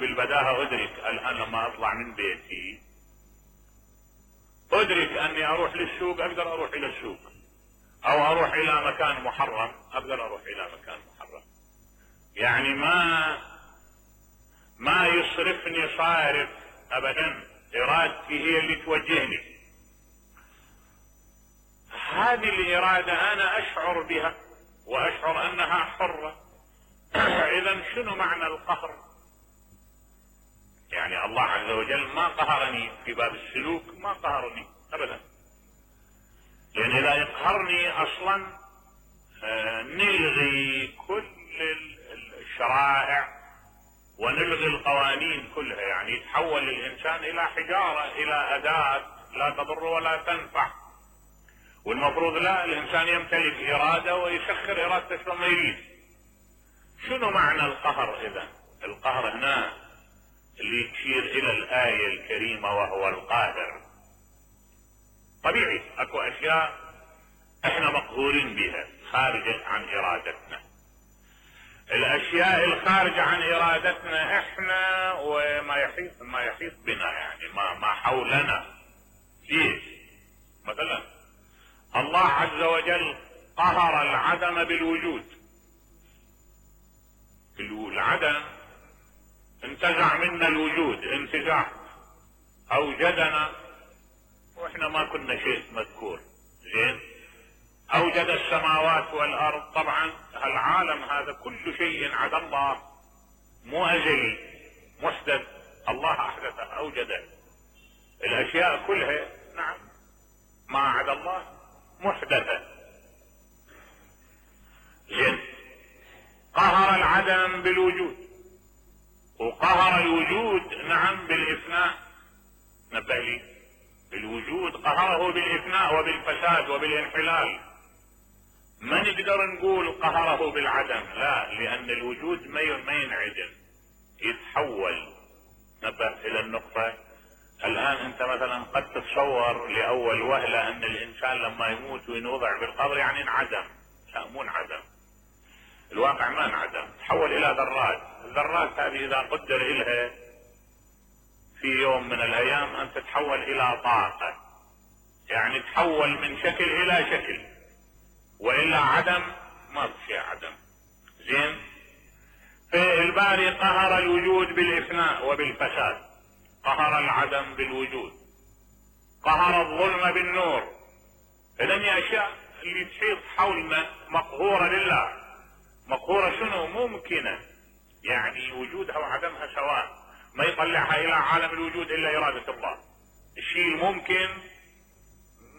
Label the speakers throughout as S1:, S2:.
S1: بالبداهة ادرك الان لما اطلع من بيتي ادرك اني اروح للسوق، اقدر اروح الى السوق، او اروح الى مكان محرم، اقدر اروح الى مكان محرم. يعني ما يصرفني صارف ابدا، ارادتي هي اللي توجهني. هذه الارادة انا اشعر بها واشعر انها حرة. اذا شنو معنى القهر؟ يعني الله عز وجل ما قهرني في باب السلوك، ما قهرني ابدا، لان اذا يقهرني اصلا نلغي كل الشرائع ونلغي القوانين كلها، يعني يتحول الانسان الى حجارة، الى اداة لا تضر ولا تنفع. والمفروض لا، الانسان يمتلك ارادة ويسخر ارادته كما يريد. شنو معنى القهر؟ اذا القهر هنا اللي تشير الى الاية الكريمة وهو القاهر. طبيعي اكو اشياء احنا مقهورين بها خارجة عن ارادتنا. الاشياء الخارجة عن ارادتنا احنا وما يحيط بنا، يعني ما حولنا. ليش؟ مثلا الله عز وجل قهر العدم بالوجود. العدم انتزع منا الوجود انتزاع، اوجدنا واحنا ما كنا شيء مذكور. زين، اوجد السماوات والارض. طبعا العالم هذا كل شيء عدا الله مو ازلي، محدث. الله احدثه، اوجده. الاشياء كلها نعم ما عدا الله محدثة. زين، قهر العدم بالوجود، وقهر الوجود نعم بالإفناء. نبه لي، الوجود قهره بالإفناء وبالفساد وبالانحلال. ما نقدر نقول قهره بالعدم، لا، لأن الوجود ما ينعدم، يتحول. نبه إلى النقطة. الآن أنت مثلا قد تتصور لأول وهلة أن الإنسان لما يموت وينوضع بالقبر يعني انعدم. لا، مو انعدم، الواقع ما انعدم، تحول إلى ذرات. الذرات هذه إذا قدر إلها في يوم من الأيام أن تتحول إلى طاقة، يعني تحول من شكل إلى شكل، وإلا عدم ما في شيء عدم. زين، فالباري قهر الوجود بالإفناء وبالفساد، قهر العدم بالوجود، قهر الظلم بالنور. إذن الأشياء اللي تحيط حولنا مقهورة لله. مقهورة شنو؟ ممكنة، يعني وجودها وعدمها سواء، ما يطلعها إلى عالم الوجود إلا إرادة الله. الشيء الممكن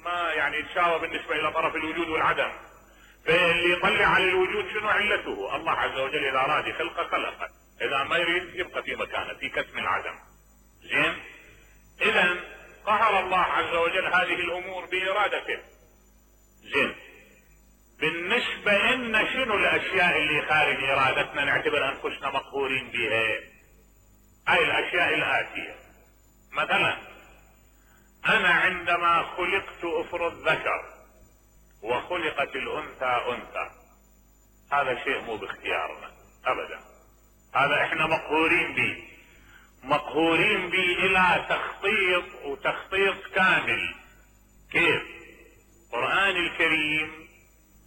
S1: ما يعني يتساوى بالنسبة إلى طرف الوجود والعدم. فاللي يطلع على الوجود شنو علته؟ الله عز وجل إذا أراد يخلقه خلقه، إذا ما يريد يبقى في مكانه، في كتم العدم. زين، اذا قهر الله عز وجل هذه الامور بارادته. زين، بالنسبة لنا شنو الاشياء اللي خارج ارادتنا نعتبر انفسنا مقهورين بها؟ هاي الاشياء الاتية. مثلا انا عندما خلقت افرض ذكر وخلقت الانثى انثى، هذا شيء مو باختيارنا ابدا، هذا احنا مقهورين به، مقهورين به الى تخطيط، وتخطيط كامل. كيف؟ القرآن الكريم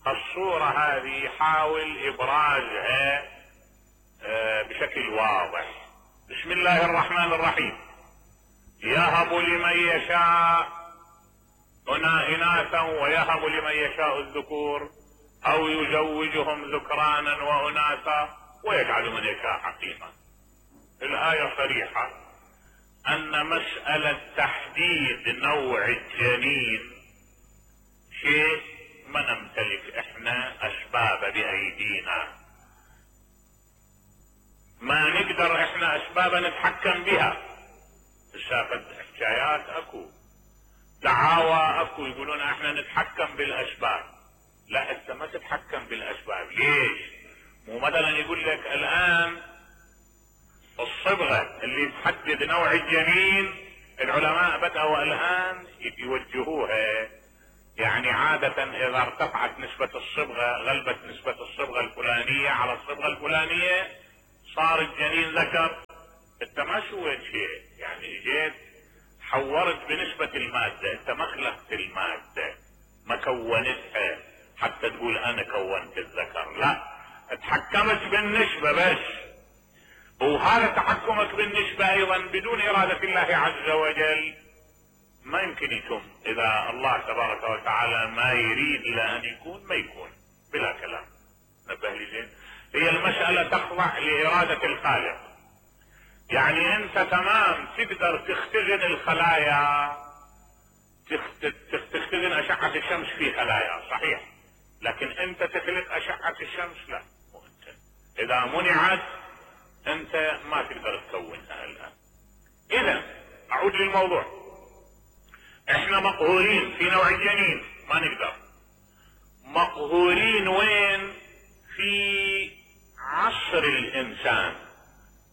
S1: الصورة هذه يحاول ابرازها بشكل واضح. بسم الله الرحمن الرحيم: يهب لمن يشاء اناثا ويهب لمن يشاء الذكور او يزوجهم ذكرانا واناثا ويجعل من يشاء حقيما. الآية صريحة أن مسألة تحديد نوع الجنين شيء ما نمتلك احنا أسباب بأيدينا، ما نقدر احنا أسباب نتحكم بها. السابق حكايات اكو، دعاوى اكو، يقولون احنا نتحكم بالأسباب. لا، انت ما تتحكم بالأسباب. ليش؟ مو مثلا يقول لك الآن الصبغة اللي تحدد نوع الجنين العلماء بدأوا الآن يوجهوها، يعني عادة إذا ارتفعت نسبة الصبغة، غلبت نسبة الصبغة الفلانية على الصبغة الفلانية، صار الجنين ذكر. انت ما سويت شيء، يعني جيت حورت بنسبة المادة، انت ما خلقت المادة، ما كونتها حتى تقول انا كونت الذكر، لا، اتحكمت بالنسبة بس. وهذا تحكمك بالنسبة ايضا بدون ارادة الله عز وجل ما يمكن يتم. اذا الله تبارك وتعالى ما يريد الى ان يكون ما يكون بلا كلام. نبه لي زين، هي المسألة تخضع لارادة الخالق. يعني انت تمام تقدر تختزن الخلايا، تختزن اشعة الشمس في خلايا، صحيح، لكن انت تخلق اشعة الشمس لا، مو انت. اذا منعت انت ما تقدر تكونها الان. اذا اعود للموضوع، احنا مقهورين في نوع الجنين، ما نقدر. مقهورين وين؟ في عصر الانسان.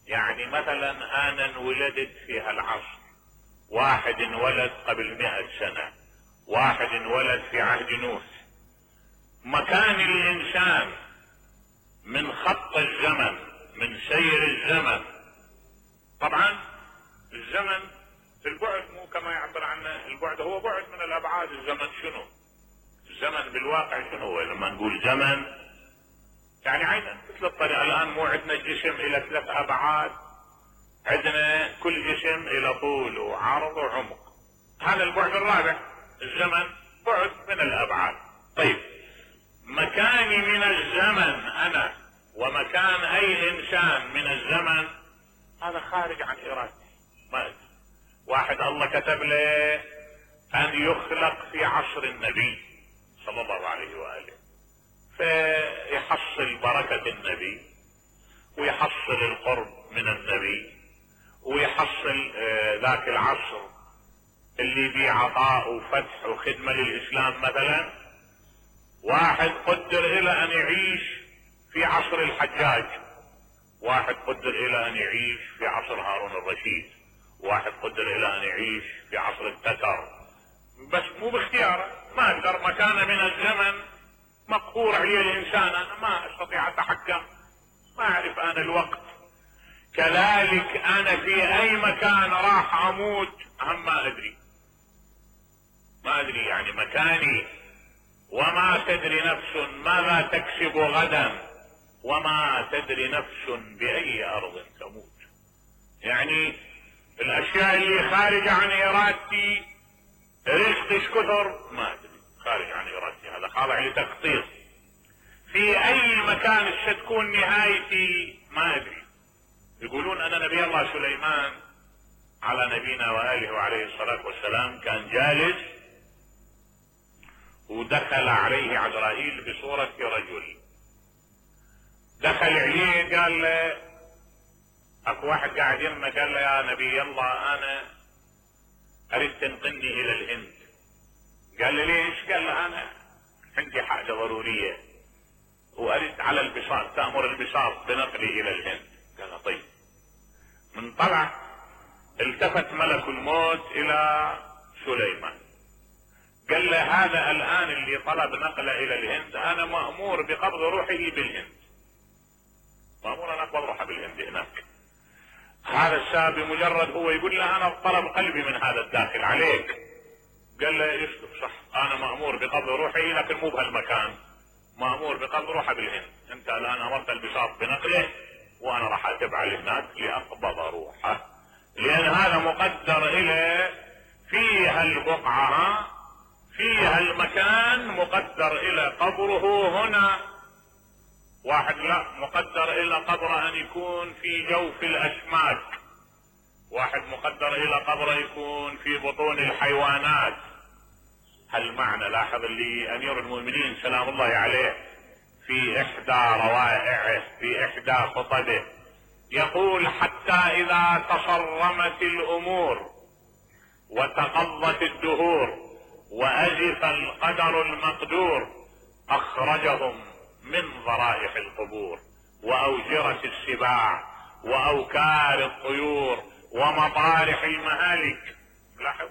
S1: يعني مثلا انا انولدت في هالعصر، واحد انولد قبل 100 سنة، واحد انولد في عهد نوح. مكان الانسان من خط الزمن، من سير الزمن، طبعا الزمن البعد مو كما يعبر عنه البعد، هو بعد من الابعاد. الزمن شنو؟ الزمن بالواقع شنو هو؟ لما نقول زمن يعني عينا مثل الطريقة. الان مو عندنا الجسم الى 3 ابعاد، عندنا كل جسم الى طول وعرض وعمق، هذا البعد الرابع. الزمن بعد من الابعاد. طيب مكاني من الزمن انا ومكان اي انسان من الزمن هذا خارج عن ارادتي. ما أدري. واحد الله كتب له ان يخلق في عصر النبي صلى الله عليه واله، فيحصل بركة النبي ويحصل القرب من النبي ويحصل ذاك العصر اللي بيه عطاء وفتح وخدمة للإسلام. مثلا واحد قدر إلى أن يعيش في عصر الحجاج، واحد قدر إلى أن يعيش في عصر هارون الرشيد، واحد قدر إلى أن يعيش في عصر التتر، بس مو باختياره. ما أقدر، مكان من الزمن مقهور عليه الإنسان، أنا ما أستطيع أتحكم، ما أعرف أنا الوقت. كذلك أنا في أي مكان راح أموت هم ما أدري، ما أدري يعني مكاني. وما تدري نفس ماذا تكسب غدا وما تدري نفس بأي أرض تموت. يعني الأشياء اللي خارجة عن إرادتي، رزقش كثر ما أدري، خارج عن إرادتي، هذا خاضع لتخطيط. في أي مكان ستكون نهايتي ما أدري. يقولون أن نبي الله سليمان على نبينا وآله وعليه الصلاة والسلام كان جالس ودخل عليه عزرائيل بصورة رجل. دخل عليه قال له، اكو واحد قاعد يمه، قال له يا نبي الله انا اريد تنقلني الى الهند. قال له ليش؟ قال له انا عندي حاجة ضرورية واريد على البساط، تأمر البساط بنقلي الى الهند. قال له طيب. من طلع التفت ملك الموت الى سليمان قال له هذا الان اللي طلب نقله الى الهند انا مأمور بقبض روحه بالهند، مأمور ان اقبض روحه بالهند هناك. هذا الشاب بمجرد هو يقول له انا طلب قلبي من هذا الداخل عليك، قال له يسلك صح، انا مأمور بقبض روحي لكن مو بهالمكان، مأمور بقبض روحه بالهند. انت الان امرت البساط بنقله وانا راح اتبع هناك لاقبض روحه، لان هذا مقدر الى فيها البقعة، فيها المكان مقدر الى قبره هنا. واحد لا، مقدر الى قبره ان يكون في جوف الاسماك، واحد مقدر الى قبره يكون في بطون الحيوانات. هالمعنى لاحظ اللي امير المؤمنين سلام الله عليه في احدى روائعه في احدى خطبه يقول حتى اذا تصرمت الامور وتقضت الدهور وازف القدر المقدور اخرجهم من ضرائح القبور واوجرة السباع واوكار الطيور ومطارح المهالك. لاحظ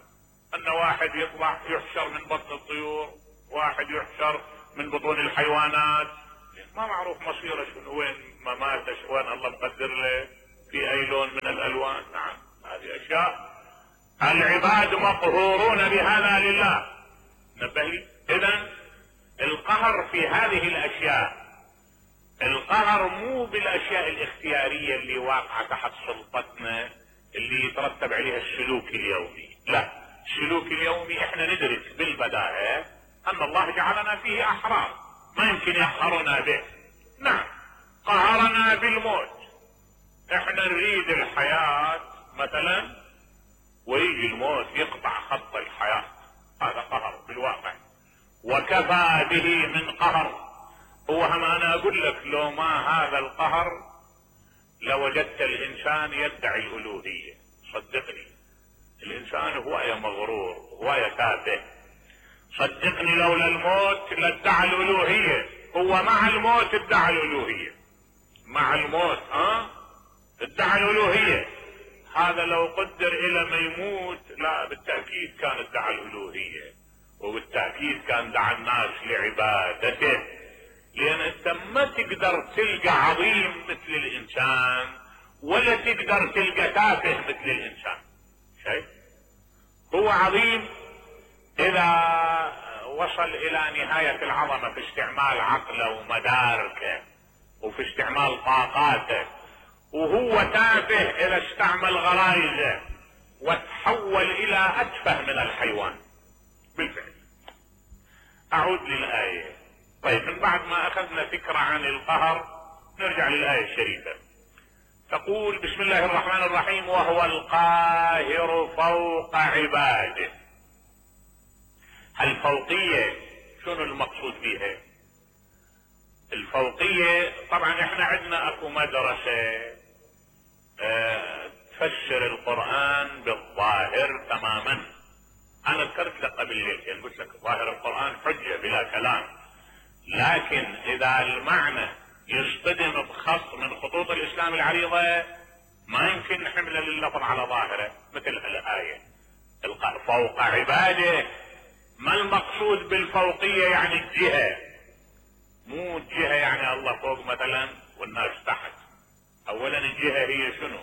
S1: ان واحد يطلع يحشر من بطن الطيور، واحد يحشر من بطون الحيوانات، ما معروف مصيره شنو، وين مماته، وين الله مقدر له في اي لون من الالوان. نعم هذه اشياء العباد مقهورون بهذا لله. نبه لي. اذا القهر في هذه الاشياء، القهر مو بالاشياء الاختيارية اللي واقعة تحت سلطتنا اللي يترتب عليها السلوك اليومي، لا، السلوك اليومي احنا ندرك بالبداهة ان الله جعلنا فيه احرار، ما يمكن يقهرنا به. نعم قهرنا بالموت، احنا نريد الحياة مثلا ويجي الموت يقطع خط الحياة، هذا قهر بالواقع وكفى به من قهر. هو هم انا اقول لك لو ما هذا القهر لوجدت الانسان يدعي الالوهية. صدقني الانسان هواية مغرور، هواية تافه. صدقني لولا الموت لادعى الالوهية. هو مع الموت ادعى الالوهية، مع الموت ادعى الالوهية. هذا لو قدر الى ما يموت لا بالتأكيد كان ادعى الالوهية، وبالتأكيد كان دعا الناس لعبادته. لان انت ما تقدر تلقى عظيم مثل الانسان ولا تقدر تلقى تافه مثل الانسان. شايف؟ هو عظيم اذا وصل الى نهاية العظمة في استعمال عقله ومداركه وفي استعمال طاقاته، وهو تافه اذا استعمل غرائزه وتحول الى اتفه من الحيوان بالفعل. اعود للآية. طيب من بعد ما اخذنا فكرة عن القهر نرجع للآية الشريفة. تقول بسم الله الرحمن الرحيم: وهو القاهر فوق عباده. الفوقية شنو المقصود بها؟ الفوقية طبعا احنا عندنا اكو مدرسة تفسر القرآن بالظاهر تماما. انا ذكرت لك قبل ليلتين قلت لك ظاهر القرآن حجة بلا كلام، لكن اذا المعنى يصطدم بخط من خطوط الاسلام العريضة ما يمكن نحمل اللفظ على ظاهره. مثل الآية فوق عباده، ما المقصود بالفوقية؟ يعني الجهة، مو الجهة يعني الله فوق مثلا والناس تحت. اولا الجهة هي شنو؟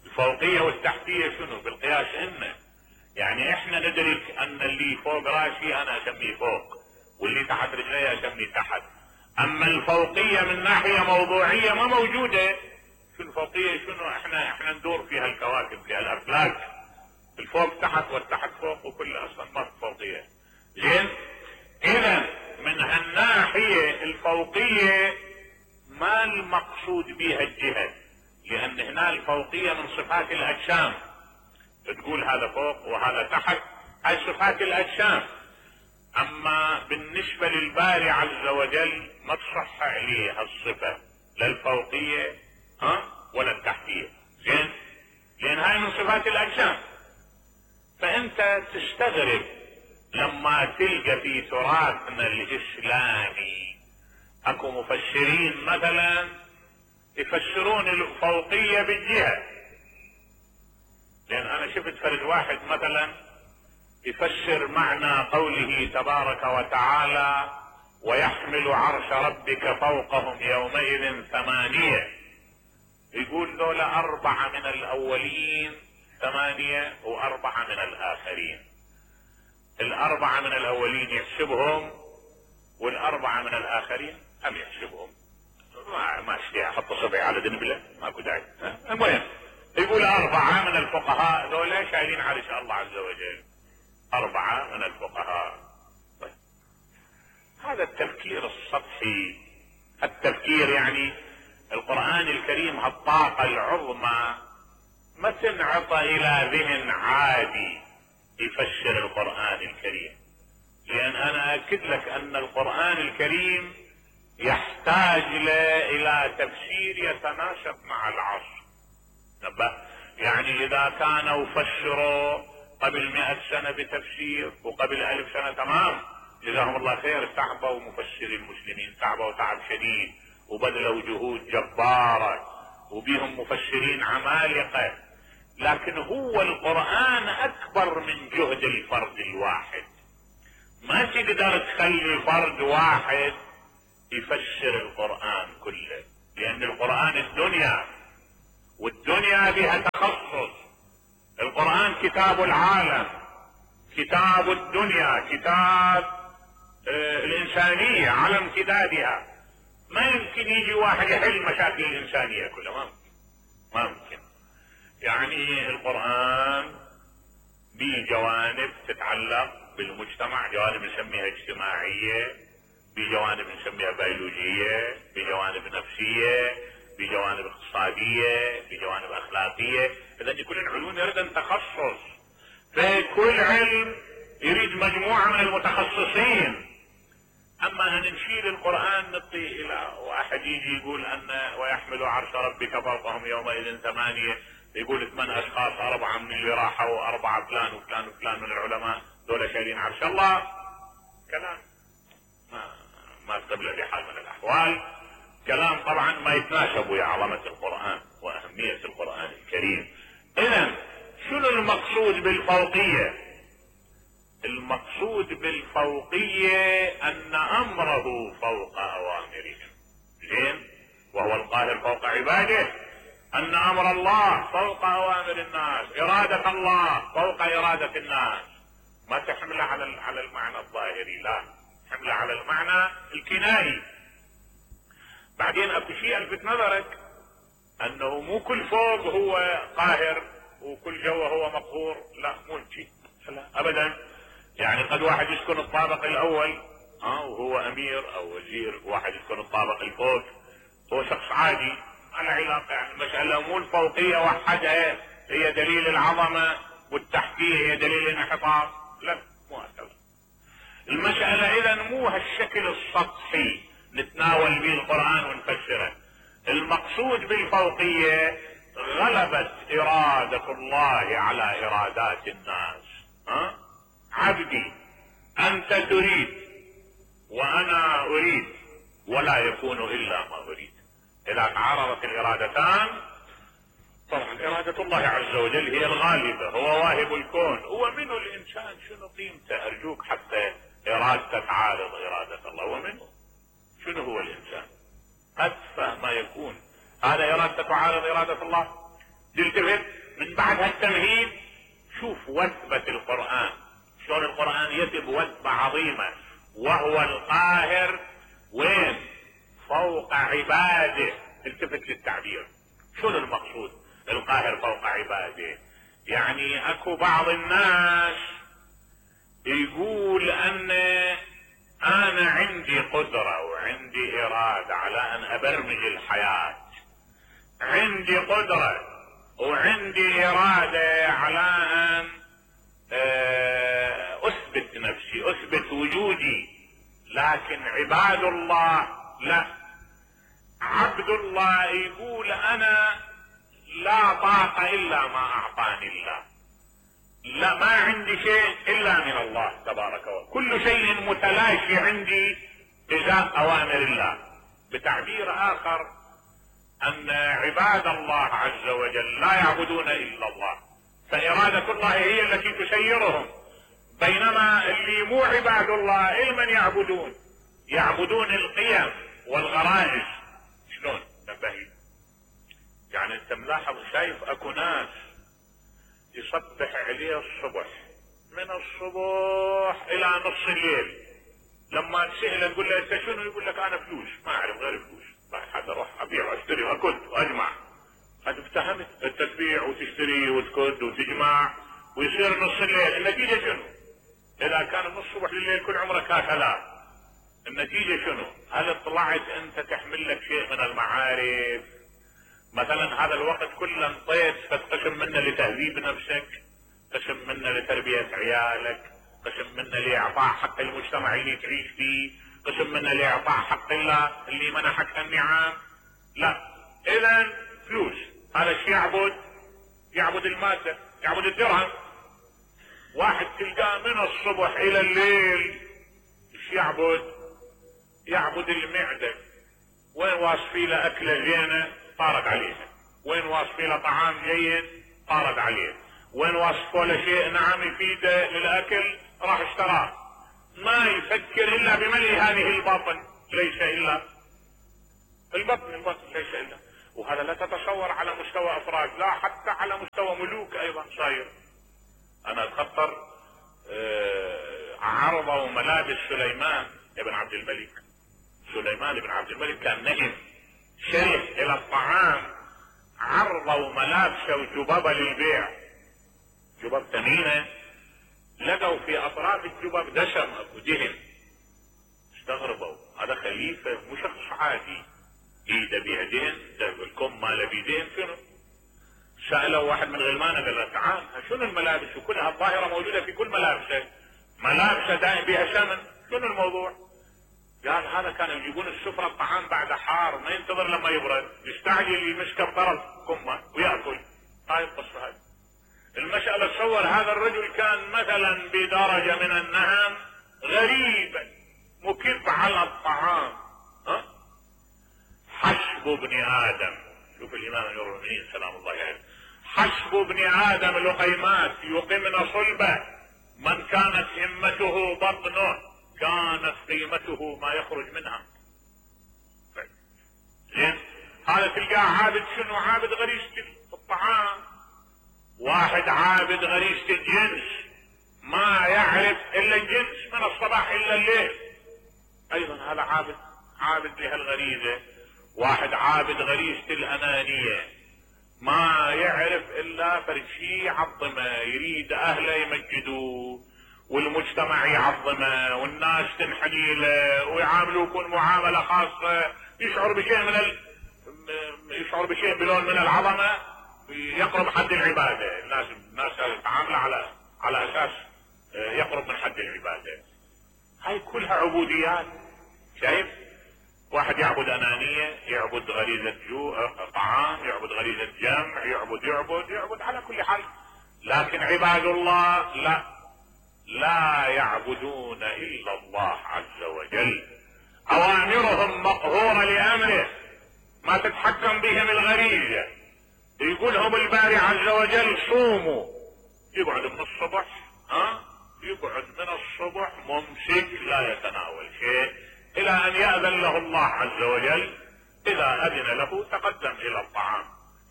S1: الفوقية والتحتية شنو بالقياس؟ يعني احنا ندرك ان اللي فوق راسي انا اسميه فوق، واللي تحت رجلي اسميه تحت. اما الفوقية من ناحية موضوعية ما موجودة. شو الفوقية؟ شنو؟ احنا ندور فيها الكواكب، فيها الافلاك، الفوق تحت والتحت فوق، وكل اصلا ما في فوقية. زين؟ اذا من هالناحية الفوقية ما المقصود بها الجهة، لان هنا الفوقية من صفات الاجسام. تقول هذا فوق وهذا تحت، هاي صفات الاجسام. اما بالنسبة للباري عز وجل ما تصح عليه هالصفة، لا الفوقية ولا التحتية. زين؟ لان هاي من صفات الاجسام. فانت تستغرب لما تلقى في تراثنا الاسلامي اكو مفسرين مثلا يفسرون الفوقية بالجهة. لان انا شفت فرد واحد مثلا يفسر معنى قوله تبارك وتعالى: ويحمل عرش ربك فوقهم يومئذ 8، يقول ذولا 4 من الاولين 8 و4 من الاخرين. 4 من الاولين يحسبهم وال4 من الاخرين هم يحسبهم. ما اشتي احط صبعي على دنبله، ماكو داعي. المهم يقول 4 من الفقهاء ذولا شايلين عرش الله عز وجل، 4 من الفقهاء. طيب هذا التفكير السطحي، التفكير يعني القرآن الكريم هالطاقة العظمى ما تنعطى الى ذهن عادي يفسر القرآن الكريم. لان انا اكد لك ان القرآن الكريم يحتاج الى تفسير يتناسب مع العصر. يعني اذا كانوا فسروا قبل 100 سنة بتفسير وقبل 1000 سنة تمام، جزاهم الله خير، تعبوا مفسري المسلمين، تعبوا تعب شديد وبذلوا جهود جبارة وبيهم مفسرين عمالقة. لكن هو القرآن اكبر من جهد الفرد الواحد. ما تقدر تخلي فرد واحد يفسر القرآن كله، لان القرآن الدنيا والدنيا بها تخصص. القرآن كتاب العالم، كتاب الدنيا، كتاب الإنسانية على امتدادها. ما يمكن يجي واحد يحل مشاكل الإنسانية كلها، ما ممكن. يعني القرآن بجوانب تتعلق بالمجتمع، جوانب نسميها اجتماعية، بجوانب نسميها بيولوجية، بجوانب نفسية، بجوانب اقتصادية، بجوانب اخلاقية. اذا كل العلوم يريد تخصص، فكل علم يريد مجموعة من المتخصصين. اما ان نشيل القرآن نعطي الى واحد يجي يقول ان ويحمل عرش ربك فوقهم يومئذ 8، يقول 8 اشخاص، 4 من اللي راحوا، 4 فلان وفلان وفلان من العلماء، دول شايلين عرش الله. كلام ما استبلغ بحال من الاحوال، كلام طبعا ما يتناسب ويا عظمة القرآن واهمية القرآن الكريم. اذا شنو المقصود بالفوقية؟ المقصود بالفوقية ان امره فوق اوامرهم، زين، وهو القاهر فوق عباده. ان امر الله فوق اوامر الناس، ارادة الله فوق ارادة الناس. ما تحمله على المعنى الظاهري، لا، حمله على المعنى الكنائي. بعدين اكو شيء الفت نظرك، انه مو كل فوق هو قاهر وكل جوه هو مقهور، لا، مو شيء ابدا. يعني قد واحد يسكن الطابق الاول وهو امير او وزير، واحد يسكن الطابق الفوق هو شخص عادي، على علاقة. يعني المسألة مو الفوقية وحدها هي دليل العظمة والتحتية هي دليل الانحطاط، لا، مو هكذا المسألة. اذا مو هالشكل السطحي نتناول به القرآن ونفسره. المقصود بالفوقية غلبت ارادة الله على ارادات الناس. عبدي انت تريد وانا اريد، ولا يكون الا ما اريد. اذا تعارضت الارادتان، طبعا ارادة الله عز وجل هي الغالبة، هو واهب الكون. هو منه الانسان شنو قيمته؟ ارجوك، حتى ارادته تعارض ارادة الله. ومنه شنو هو الانسان؟ اتفه ما يكون، هذا ارادته تعارض ارادة الله. تلتفت من بعد هالتمهيد، شوف وثبة القرآن، شلون القرآن يثب وثبة عظيمة، وهو القاهر وين؟ فوق عباده. التفت للتعبير، شنو المقصود القاهر فوق عباده؟ يعني اكو بعض الناس يقول ان انا عندي قدرة وعندي ارادة على ان ابرمج الحياة، عندي قدرة وعندي ارادة على ان اثبت نفسي، اثبت وجودي. لكن عباد الله لا، عبد الله يقول انا لا طاقة الا ما اعطاني الله، لا، ما عندي شيء الا من الله تبارك وتعالى، كل شيء متلاشي عندي ازاء اوامر الله. بتعبير اخر، ان عباد الله عز وجل لا يعبدون الا الله، فارادة الله هي التي تسيرهم. بينما اللي مو عباد الله من يعبدون القيم والغرائز. شلون؟ نبهي. يعني انت ملاحظ، شايف اكو ناس يصبح عليه الصبح، من الصبح الى نص الليل، لما تسأله تقول له انت شنو؟ يقول لك انا فلوس، ما اعرف غير فلوس، حتى اروح ابيع واشتري واكد واجمع. هذا افتهمت انت تبيع وتشتري وتكد وتجمع ويصير نص الليل. النتيجة شنو؟ اذا كان من الصبح لليل كل عمرك هكذا، النتيجة شنو؟ هل طلعت انت تحمل لك شيء من المعارف؟ مثلا هذا الوقت كله انطيت فتقسم منه لتهذيب نفسك، قسم منه لتربية عيالك، قسم منه لاعطاء حق المجتمع اللي تعيش فيه، قسم منه لاعطاء حق الله اللي منحك النعم. لا، اذا فلوس، هذا الشيء يعبد المادة، يعبد الدرهم. واحد تلقاه من الصبح الى الليل ايش يعبد المعدة. وين واصفي له اكله زينه طارد عليها، وين واصفي له طعام جيد طارد عليه، وين وصفوا له شيء نعم يفيده للاكل راح اشتراه. ما يفكر الا بملء هذه الباطن، ليس الا البطن ليس الا. وهذا لا تتصور على مستوى افراد، لا حتى على مستوى ملوك ايضا صاير. انا اتخطر عرضوا ملابس سليمان بن عبد الملك. سليمان بن عبد الملك كان نهم شره الى الطعام، عرضوا ملابسه وجبابه للبيع، جباب ثمينه، لقوا في اطراف الجباب دسم اكو دهن. استغربوا، هذا خليفه مو شخص عادي ايده بيها دهن، الكم ماله بيدهن شنو؟ سالوا واحد من غلمانه قال له تعال شنو الملابس وكلها الظاهره موجوده في كل ملابسه، ملابسه دائم بها سمن، شنو الموضوع؟ قال هذا كانوا يجيبون السفره الطعام بعد حار ما ينتظر لما يبرد، يستعجل يمسكه بطرف كمه وياكل. هاي القصه هاي. المساله تصور هذا الرجل كان مثلا بدرجه من النهم غريبا مكب على الطعام. حسب ابن ادم، شوف الامام امير المؤمنين سلام الله عليه، حسب ابن ادم لقيمات يقمن صلبه، من كانت همته بطنه كانت قيمته ما يخرج منها. زين، هذا تلقاه عابد شنو؟ عابد غريزة الطعام، واحد عابد غريزة الجنس ما يعرف الا الجنس من الصباح الا الليل، ايضا هذا عابد لهالغريزة. واحد عابد غريزة الانانية ما يعرف الا فرد شيء يعظمه، يريد اهله يمجدوه والمجتمع يعظمه والناس تنحني له ويعاملوه يكون معاملة خاصة، يشعر بشيء بلون من العظمة، يقرب حد العبادة. الناس تعامل على اساس يقرب من حد العبادة. هاي كلها عبوديات. شايف؟ واحد يعبد انانية، يعبد غريزة طعام، يعبد غريزة جمع، يعبد على كل حال. لكن عباد الله لا يعبدون الا الله عز وجل، اوامرهم مقهورة لامره، ما تتحكم بهم الغريزة. يقولهم الباري عز وجل صوموا، يقعد من الصبح يقعد من الصبح ممسك لا يتناول شيء الى ان يأذن له الله عز وجل. اذا اذن له تقدم الى الطعام،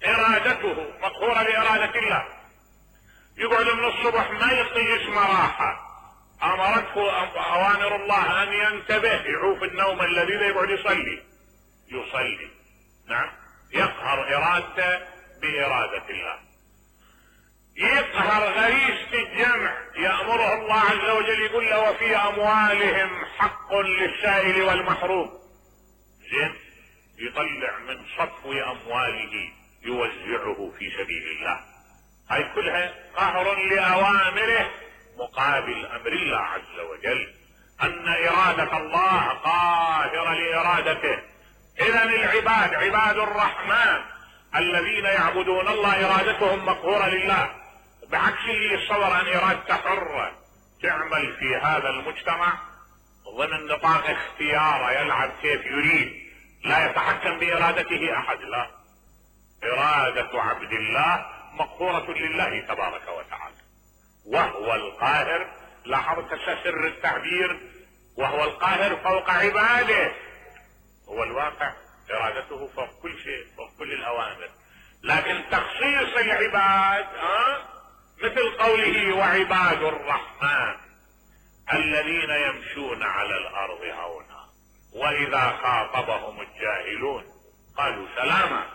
S1: ارادته مقهورة لارادة الله. يقعد من الصبح ما يعطي اسم راحة، امرته اوامر الله ان ينتبه، يعوف النوم الذي يقعد يصلي. نعم، يقهر ارادته بارادة الله. يقهر غريزة الجمع، يأمره الله عز وجل يقول له وفي اموالهم حق للسائل والمحروم. زين، يطلع من صفو امواله يوزعه في سبيل الله. هاي كلها قهر لأوامره مقابل أمر الله عز وجل، أن إرادة الله قاهرة لإرادته. إذن العباد عباد الرحمن الذين يعبدون الله إرادتهم مقهورة لله، بعكس اللي يتصور أن إرادته حرة تعمل في هذا المجتمع ضمن نطاق اختياره، يلعب كيف يريد، لا يتحكم بإرادته أحد. لا، إرادة عبد الله مقهورة لله تبارك وتعالى، وهو القاهر. لاحظت سر التعبير، وهو القاهر فوق عباده، هو الواقع ارادته فوق كل شيء، فوق كل الاوامر. لكن تخصيص العباد مثل قوله وعباد الرحمن الذين يمشون على الارض هونا واذا خاطبهم الجاهلون قالوا سلاما.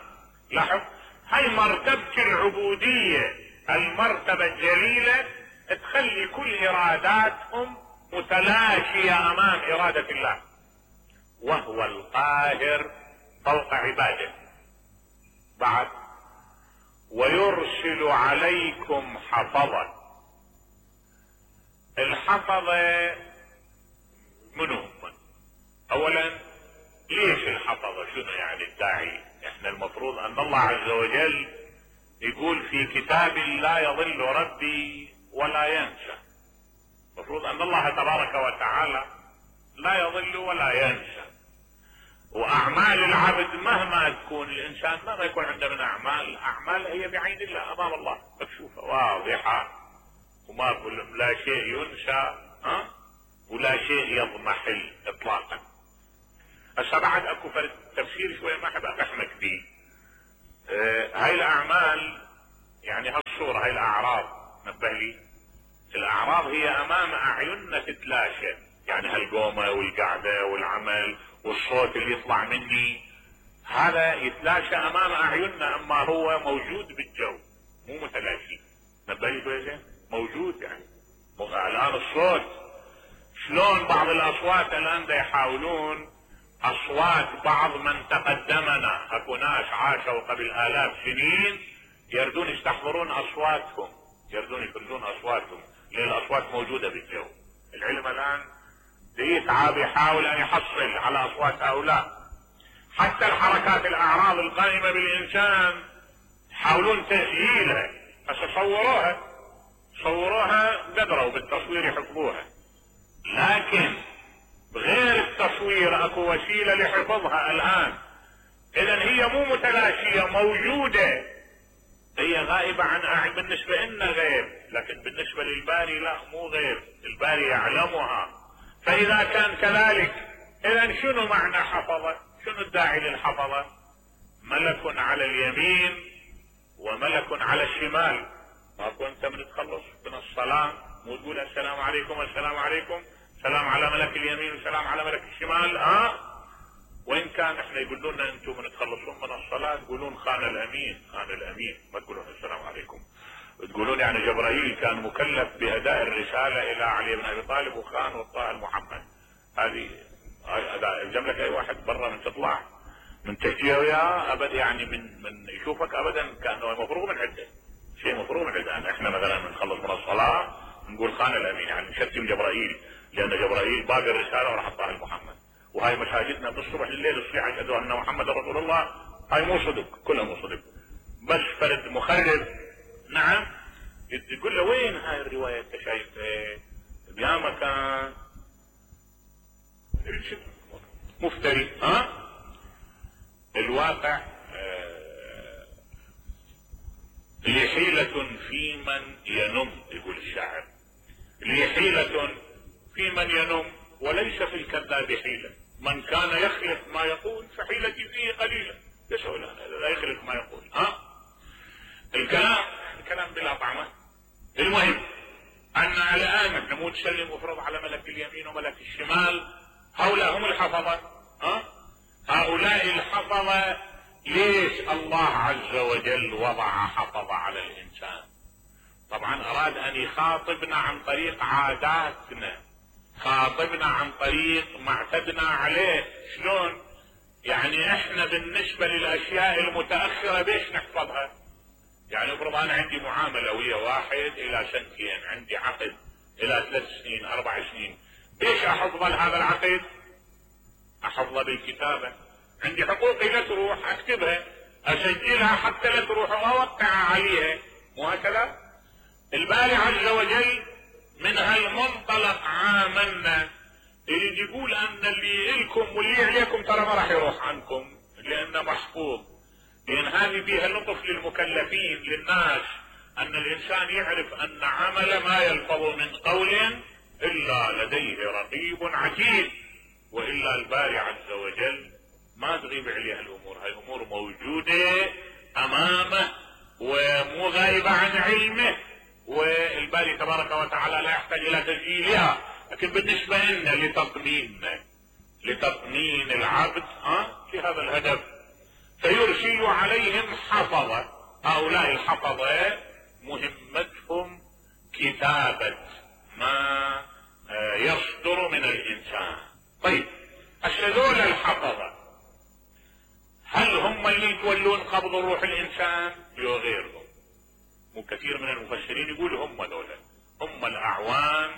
S1: لاحظ، هاي مرتبة العبودية، المرتبة الجليلة تخلي كل اراداتهم متلاشية امام ارادة الله. وهو القاهر فوق عباده. بعد ويرسل عليكم حفظا. الحفظة منهم؟ اولا ليش الحفظة؟ شنو يعني الداعي؟ احنا المفروض ان الله عز وجل يقول في كتاب لا يضل ربي ولا ينسى. المفروض ان الله تبارك وتعالى لا يضل ولا ينسى، واعمال العبد مهما تكون، الانسان مهما يكون عنده من اعمال هي بعين الله امام الله مكشوفة واضحة، وما لا شيء ينسى ولا شيء يضمحل اطلاقا. هسه بعد اكو فرد تفسير شوية ما احب اقحمك فيه. هاي الاعمال يعني هالصورة، هاي الاعراض نبه لي، الاعراض هي امام اعيننا تتلاشى، يعني هالقومة والقعدة والعمل والصوت اللي يطلع مني هذا يتلاشى امام اعيننا، اما هو موجود بالجو مو متلاشي. نبه لي كويس، موجود يعني. الان الصوت شلون بعض الاصوات الان دا يحاولون، اصوات بعض من تقدمنا، اكو ناس عاشوا قبل الاف سنين يردون يستحضرون اصواتهم، يردون يفرزون اصواتهم، لان الاصوات موجودة بالجو. العلم الان يتعب يحاول ان يحصل على اصوات هؤلاء. حتى الحركات الاعراض القائمة بالانسان يحاولون تسجيلها، بس صوروها قدروا بالتصوير يحفظوها، لكن بغير التصوير اكو وسيلة لحفظها الان. اذا هي مو متلاشية، موجودة، هي غائبة عن بالنسبة لنا غيب، لكن بالنسبة للباري لا، مو غيب، الباري يعلمها. فاذا كان كذلك اذا شنو معنى حفظة؟ شنو الداعي للحفظة؟ ملك على اليمين وملك على الشمال. ما كنت من تخلص من الصلاة مو تقول السلام عليكم السلام عليكم، سلام على ملك اليمين وسلام على ملك الشمال. وين كان احنا يقولون لنا انتم من تخلصون من الصلاة تقولون خان الامين، خان الامين، ما تقولون السلام عليكم. تقولون يعني جبرائيل كان مكلف باداء الرسالة الى علي بن ابي طالب وخان وطاء المحمد. هذه يلزم لك اي واحد برا من تطلع من تحكيه وياه ابدا، يعني من يشوفك ابدا كانه مفروغ من عده، شيء مفروغ من عده. احنا مثلا نخلص من الصلاة نقول خان الامين، يعني نشتم جبرائيل، لان جبرائيل باقي الرسالة وراح حطها لمحمد. وهاي مشاهدنا بالصبح لليل الصيح اشهد ان محمد رسول الله، هاي مو صدق، كلها مو صدق، بس فرد مخرب. نعم يقول له وين هاي الرواية انت شايفها؟ بيا مكان مفتري. الواقع لي حيلة في من ينم، يقول الشاعر، لي حيلة في من ينم وليس في الكذاب حيلة، من كان يخلف ما يقول فحيلتي فيه قليلة. يسأل لا يخلف ما يقول. الكلام بلا طعمة. المهم ان الان احنا مو نسلم وفرض على ملك اليمين وملك الشمال، هؤلاء هم الحفظة. هؤلاء الحفظة ليش الله عز وجل وضع حفظة على الانسان؟ طبعا اراد ان يخاطبنا عن طريق عاداتنا، خاطبنا عن طريق ما اعتدنا عليه. شلون؟ يعني احنا بالنسبة للاشياء المتأخرة بيش نحفظها؟ يعني افرض انا عندي معاملة ويا واحد الى سنتين، عندي عقد الى 3 سنين 4 سنين، بيش احفظ هذا العقد؟ احفظه بالكتابة، عندي حقوقي لا تروح اكتبها اسجلها حتى لا تروح واوقع عليها، مو هكذا؟ الباري عز وجل من هالمنطلق عاملنا، يريد يقول ان اللي إلكم واللي عليكم ترى ما راح يروح عنكم لانه محفوظ. لان هذه فيها لطف للمكلفين للناس، ان الانسان يعرف ان عمل ما يلفظ من قول الا لديه رقيب عتيد، والا الباري عز وجل ما تغيب عليه الامور، هاي الامور موجودة امامه ومو غايبة عن علمه، والباري تبارك وتعالى لا يحتاج الى تسجيلها. لكن بالنسبة لنا لتطمين العبد في هذا الهدف فيرسل عليهم حفظة. هؤلاء الحفظة مهمتهم كتابة ما يصدر من الانسان. طيب هذول الحفظة هل هم اللي يتولون قبض الروح الانسان لو غيرهم؟ وكثير من المفسرين يقول هم دولة، هم الاعوان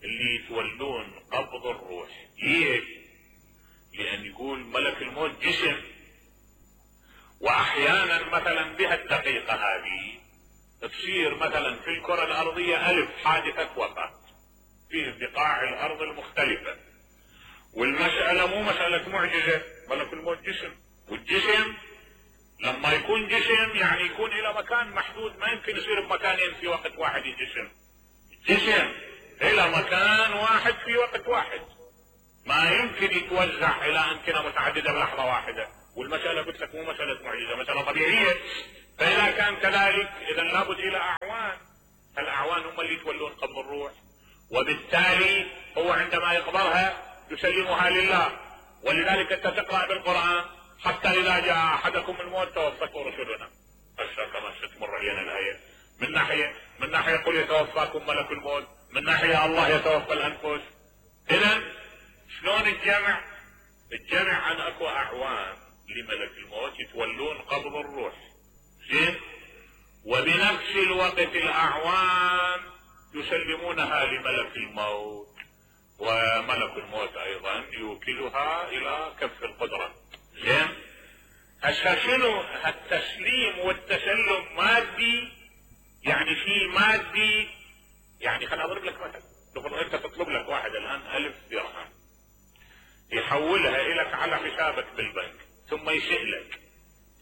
S1: اللي يتولون قبض الروح. ليش؟ لان يقول ملك الموت جسم، واحيانا مثلا بها الدقيقة هذه تصير مثلا في الكرة الارضية 1000 حادثة وفاة في بقاع الارض المختلفة، والمسألة مو مسألة معجزة، ملك الموت جسم، والجسم لما يكون جسم يعني يكون الى مكان محدود، ما يمكن يصير بمكانين في وقت واحد. جسم الى مكان واحد في وقت واحد، ما يمكن يتوزع الى امكنة متعددة بلحظة واحدة، والمسألة قلت لك مو مسألة معجزة، مسألة طبيعية. فإذا كان كذلك إذا لابد إلى أعوان، الأعوان هم اللي يتولون قبض الروح، وبالتالي هو عندما يقبضها يسلمها لله. ولذلك أنت تقرأ بالقرآن حتى إذا جاء أحدكم الموت توفته رسلنا كما ستمر علينا الآية. من ناحية يقول يتوفاكم ملك الموت، من ناحية الله يتوفى الأنفس. إذن شلون الجمع عن أكو أعوان لملك الموت يتولون قبض الروح، زين، وبنفس الوقت الأعوان يسلمونها لملك الموت، وملك الموت أيضا يوكلها إلى كف القدرة، زين. هسه شنو التسليم والتسلم؟ مادي، يعني في مادي. يعني خليني أضرب لك مثل، لو أنت تطلب لك واحد الآن 1000 درهم يحولها إليك على حسابك بالبنك، ثم يسألك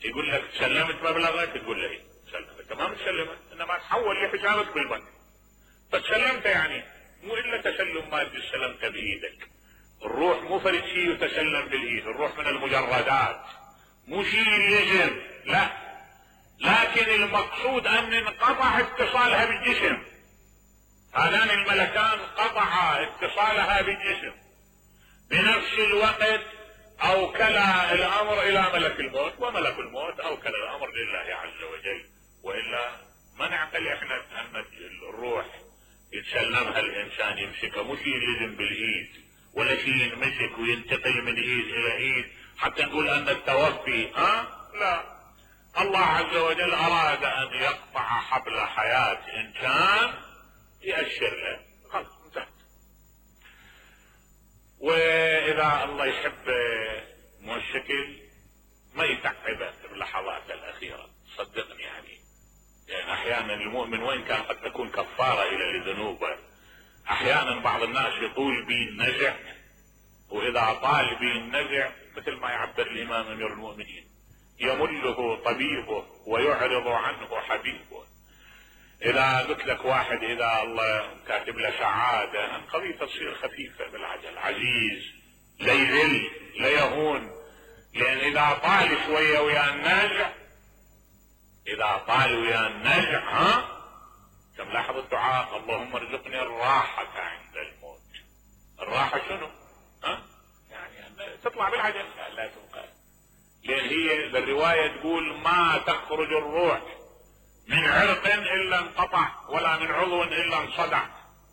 S1: يقول لك سلمت مبلغك؟ تقول له سلمت. تمام تسلمت، انما تحول لحسابك بالبنك فتسلمت. يعني مو الا تسلم مادي استلمت بايدك. الروح مو فرد شيء يتسلم بالايد، الروح من المجردات، مو شيء يلزم، لا، لكن المقصود ان انقطع اتصالها بالجسم. هذان الملكان قطع اتصالها بالجسم، بنفس الوقت اوكل الامر الى ملك الموت، وملك الموت اوكل الامر لله عز وجل. والا ما نعقل احنا ان الروح يتسلمها الانسان يمسكها، مو شيء يلزم بالايد ولا شيء ينمسك وينتقل من ايد الى ايد حتى نقول ان التوفي لا. الله عز وجل اراد ان يقطع حبل حياة انسان يأشر له، خلاص انتهت. واذا الله يحب مو الشكل ما يتعبه باللحظات الاخيرة، صدقني. يعني احيانا المؤمن وين كان قد تكون كفارة الى ذنوبه، احيانا بعض الناس يطول به النزع، واذا طال به النزع مثل ما يعبر الامام امير المؤمنين يمله طبيبه ويعرض عنه حبيبه. اذا قلت لك واحد اذا الله كاتب له سعادة القضية تصير خفيفة بالعجل، عزيز لا يذل لا يهون. لان اذا طال شوية ويا النزع، اذا طال ويا النزع كم لاحظ الدعاء اللهم ارزقني الراحة عند الموت. الراحة شنو؟ يعني تطلع بالعجل، لا تبقى. لان هي الرواية تقول ما تخرج الروح من عرق الا انقطع ولا من عضو الا انصدع.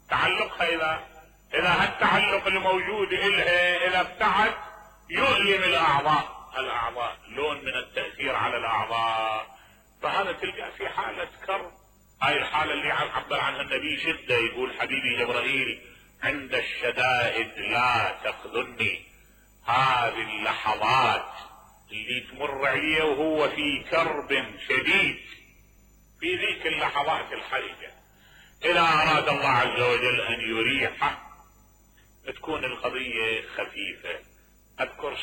S1: تعلقها اذا هالتعلق الموجود الها اذا ابتعد يؤلم الاعضاء لون من التأثير على الاعضاء. فهذا تلقى في حالة كرب. هاي الحالة اللي عبر عنها النبي شدة، يقول حبيبي جبرائيل عند الشدائد لا تخذلني. هذه اللحظات اللي تمر عليه وهو في كرب شديد، في ذيك اللحظات الحرجة إذا أراد الله عز وجل أن يريحه تكون القضية خفيفة. أذكر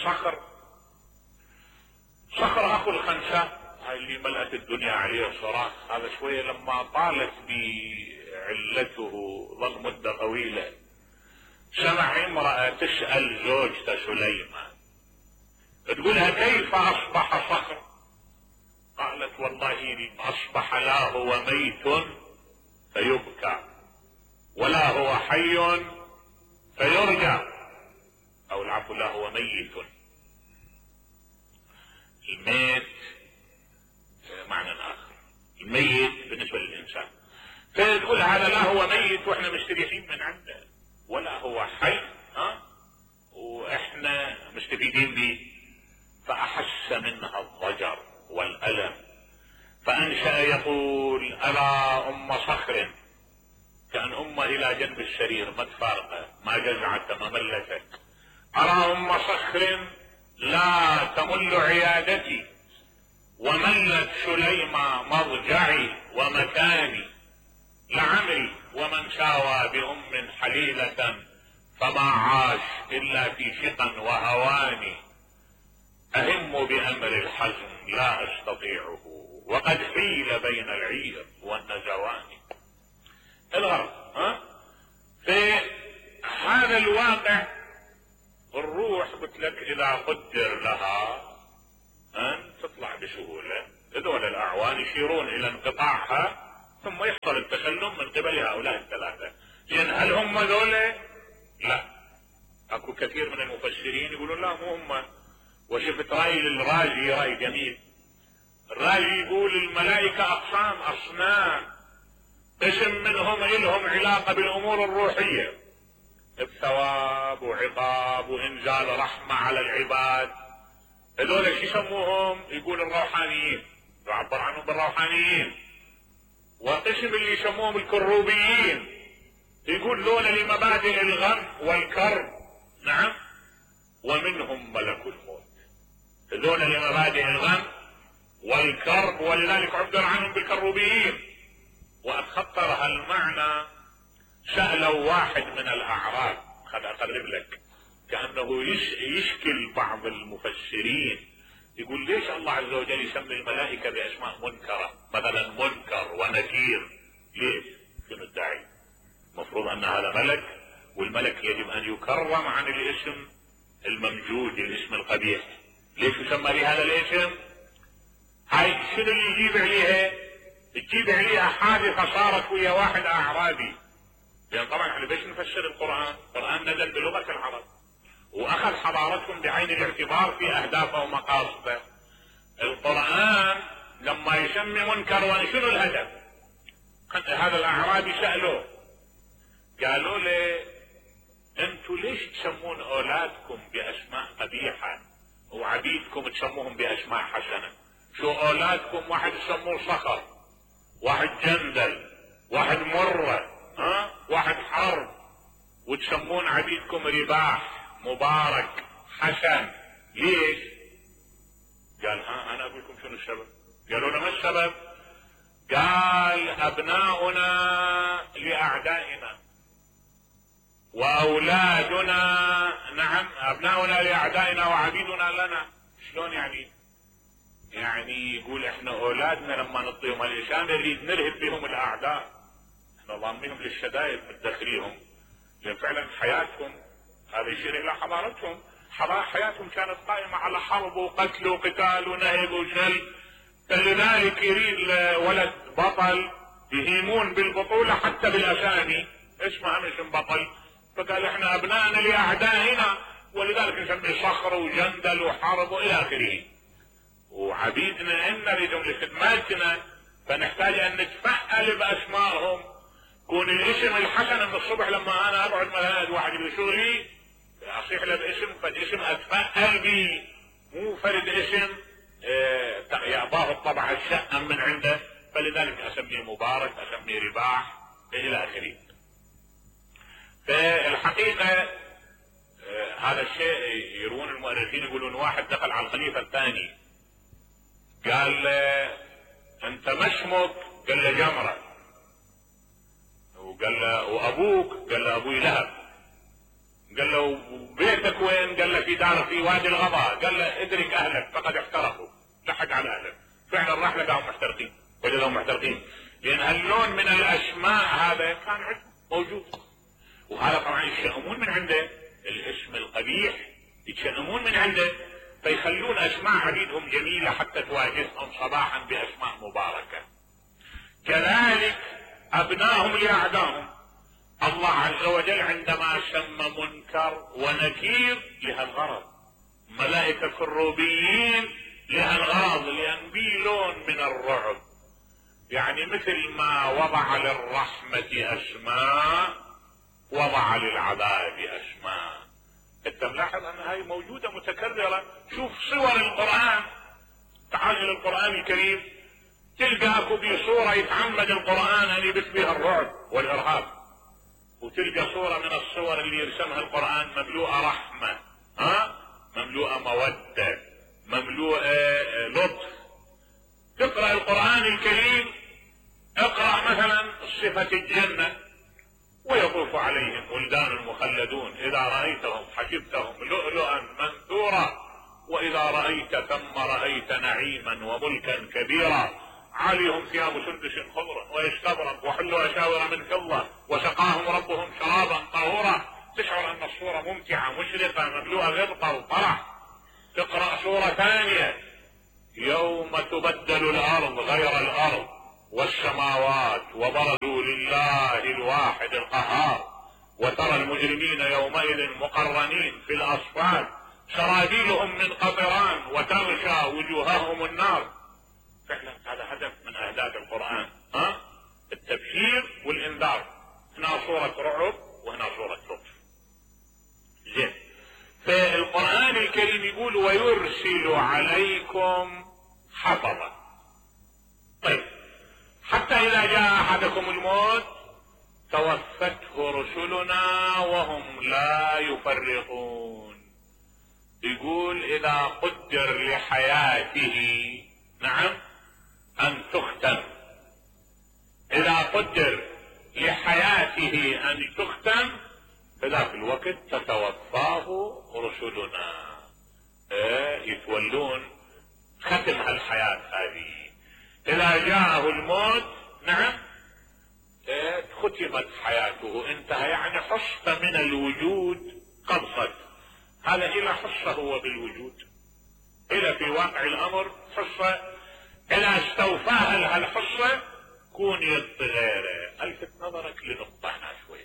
S1: صخر أخو الخنساء، هاي اللي ملأت الدنيا عليه صراخ، هذا شوية لما طالت بعلته ظل مدة طويلة سمع امرأة تسأل زوجته سليمان تقولها كيف أصبح صخر؟ قالت والله أصبح لا هو ميت فيبكى ولا هو حي فيرجى، أو العفو لا هو ميت. الميت معنى آخر، الميت بالنسبة للإنسان. فتقول هذا لا هو ميت وإحنا مستريحين من عنده، ولا هو حي وإحنا مستفيدين به. فأحس منها الضجر والألم فأنشأ يقول ألا أم صخر، كأن أمه إلى جنب السرير ما تفارقه ما جزعت ما ملتك. أرى أم صخر لا تمل عيادتي وملت سليمة مضجعي ومكاني، لعمري ومن ساوى بأم حليلة فما عاش إلا في شقا وهواني. أهم بأمر الحزن لا أستطيعه وقد حيل بين العير والنزوان. الغرض في هذا الواقع الروح قلت لك إذا قدر لها هذول الاعوان يشيرون الى انقطاعها ثم يحصل التسلم من قبل هؤلاء الثلاثة. لان هل هم ذولا؟ لا، اكو كثير من المفسرين يقولون لا مو هم. وشفت رأي للرازي رأي جميل، الرازي يقول الملائكة اقسام اصنام، قسم منهم لهم علاقة بالامور الروحية بثواب وعقاب وانزال رحمة على العباد، هذول شو يسموهم؟ يقول الروحانيين، يعبر عنهم بالروحانيين. وقسم اللي يسموهم الكروبيين، يقول ذولا لمبادئ الغم والكرب. نعم، ومنهم ملك الموت، هذول لمبادئ الغم والكرب، ولذلك عبر عنهم بالكروبيين. واتخطر هالمعنى سألوا واحد من الاعراب، خل اقرب لك، كأنه يشكل بعض المفسرين، يقول ليش الله عز وجل يسمي الملائكة باسماء منكرة، مثلا منكر ونكير؟ ليش؟ شنو الداعي؟ المفروض ان هذا ملك، والملك يجب ان يكرم عن الاسم الممجود، الاسم القبيح. ليش يسمى لهذا الاسم؟ هاي شنو اللي يجيب عليها؟ تجيب عليها حادثة صارت ويا واحد اعرابي. لان طبعا احنا ليش نفسر القرآن؟ القرآن نزل بلغة العرب واخذ حضارتهم بعين الاعتبار في اهدافه ومقاصده. القرآن لما يسمي منكر شنو الهدف؟ هذا الاعرابي سألوه، قالوا له انتوا ليش تسمون اولادكم باسماء قبيحة وعبيدكم تسموهم باسماء حسنة؟ شو اولادكم واحد تسموه صخر، واحد جندل، واحد مرة، واحد حرب، وتسمون عبيدكم رباح، مبارك، حسن. ليش؟ قال انا اقول لكم شنو السبب. قالوا له ما السبب؟ قال ابناؤنا لاعدائنا واولادنا، نعم ابناؤنا لاعدائنا وعبيدنا لنا. شلون يعني؟ يعني يقول احنا اولادنا لما نعطيهم الاشان نريد نرهب بهم الاعداء، احنا ضامنهم للشدائد مدخليهم، لان فعلا حياتهم هذا يشير الى حضارتهم، حياتهم كانت قائمة على حرب وقتل وقتال ونهب وشل، فلذلك يريد ولد بطل يهيمون بالبطولة حتى بالاسامي، اسمها مش بطل، فقال احنا ابنائنا لاعدائنا ولذلك نسميه صخر وجندل وحرب والى اخره، وعبيدنا ان نريدهم لخدماتنا فنحتاج ان نتفأل باسمائهم. كون الاسم الحسن من الصبح لما انا ابعد ملاذ واحد بشغلي اصيح له باسم، فالاسم اتفأل به، مو فرد اسم يعطاه الطبع الشأم من عنده، فلذلك اسميه مبارك، اسميه رباح الى اخره. فالحقيقة هذا الشيء يروون المؤرخين، يقولون واحد دخل على الخليفة الثاني قال انت ما اسمك؟ قال له جمرة. وقال له وابوك؟ قال له ابوي لهب. قال له بيتك وين؟ قال له في دار في وادي الغضا. قال له ادرك اهلك فقد احترقوا، لحق على اهلك. فعلا راح لقاهم محترقين، وجدهم محترقين، لان هاللون من الاسماء هذا كان موجود، وهذا طبعا يتشائمون من عنده، الاسم القبيح يتشائمون من عنده، فيخلون اسماء عبيدهم جميلة حتى تواجههم صباحا باسماء مباركة. كذلك ابنائهم لاعدائهم، الله عز وجل عندما سمى منكر ونكير لها الغرض، ملائكة كروبيين لها الغرض، لان بي لون من الرعب، يعني مثل ما وضع للرحمة اسماء وضع للعذاب اسماء. انت ملاحظ ان هاي موجودة متكررة. شوف صور القرآن، تعال الى القرآن الكريم تلقى اكو بصورة يتعمد القرآن ان يبث بها الرعب والارهاب، وتلقى صورة من الصور اللي يرسمها القرآن مملوءة رحمة، مملوءة مودة، مملوءة لطف. تقرأ القرآن الكريم، اقرأ مثلا صفة الجنة، ويطوف عليهم ولدان مخلدون إذا رأيتهم حسبتهم لؤلؤا منثورا وإذا رأيت ثم رأيت نعيما وملكا كبيرا عليهم ثياب سندس خضر واستبرق وحلوا أساور من فضة وسقاهم ربهم شرابا طهورا. تشعر أن الصورة ممتعة مشرقة مملوءة غبطة وفرح. تقرأ صورة ثانية يوم تبدل الارض غير الارض والسماوات وبرزوا لله الواحد القهار وترى المجرمين يومئذ مقرنين في الاصفاد سرابيلهم من قطران وتغشى وجوههم النار. فعلا هذا هدف من اهداف القرآن، التبشير والانذار. هنا صورة رعب وهنا صورة لطف. زين، فالقرآن الكريم يقول ويرسل عليكم حفظا. طيب، حتى اذا جاء احدكم الموت توفته رسلنا وهم لا يفرقون. يقول اذا قدر لحياته، نعم، ان تختم، اذا قدر لحياته ان تختم فذاك الوقت تتوفاه رسلنا، يتولون ختم هالحياة هذه. اذا جاءه الموت، نعم، ختمت حياته، انتهى، يعني حصة من الوجود قبضت. هذا الى حصة هو بالوجود، الى في واقع الامر حصة، اذا استوفاها هالحصة كون يد غيره. الفت نظرك لنقطة هنا شوي.